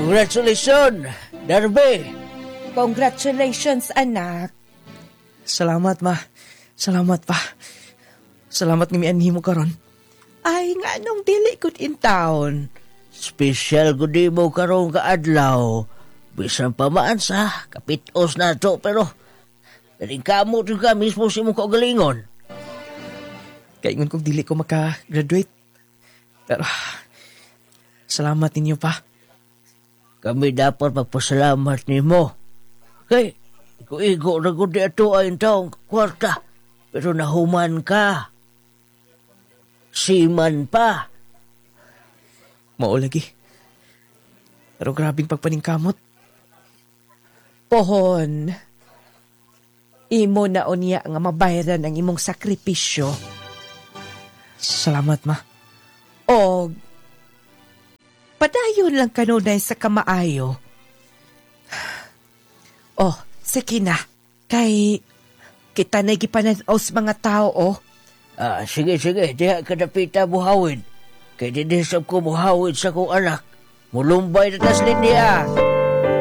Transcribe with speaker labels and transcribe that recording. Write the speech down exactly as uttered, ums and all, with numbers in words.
Speaker 1: Congratulations, Darby.
Speaker 2: Congratulations, anak.
Speaker 3: Salamat, ma. Salamat pa. Salamat nga mianhi mo karon.
Speaker 2: Ay, nganong dili gud intawon.
Speaker 1: Special gud mo karong kaadlaw. Bisan pa maan sa kapitos na to, pero kamo ka mismo sa imong kaugalingon.
Speaker 3: Kaingon kong dili ko maka-graduate. Pero salamat ninyo pa.
Speaker 1: Kami dapat magpasalamat nimo. Kay, igo-igo na gud di ato ay taong kwarta. Pero nahuman ka. Siman pa.
Speaker 3: Mao lagi. Pero grabing pagpaningkamot.
Speaker 2: Pohon. Imo na unya nga mabayaran ang imong sakripisyo.
Speaker 3: Salamat, ma.
Speaker 2: Og padayon lang kanunay sa kamaayo. Oh, sige na. Kay kita na gipanan-aw sa mga tao, oh.
Speaker 1: Ah, sige, sige. Diha ka dapita buhawid. Kay dinhisap ko buhawid sa kong anak. Mulumbay na tas niya.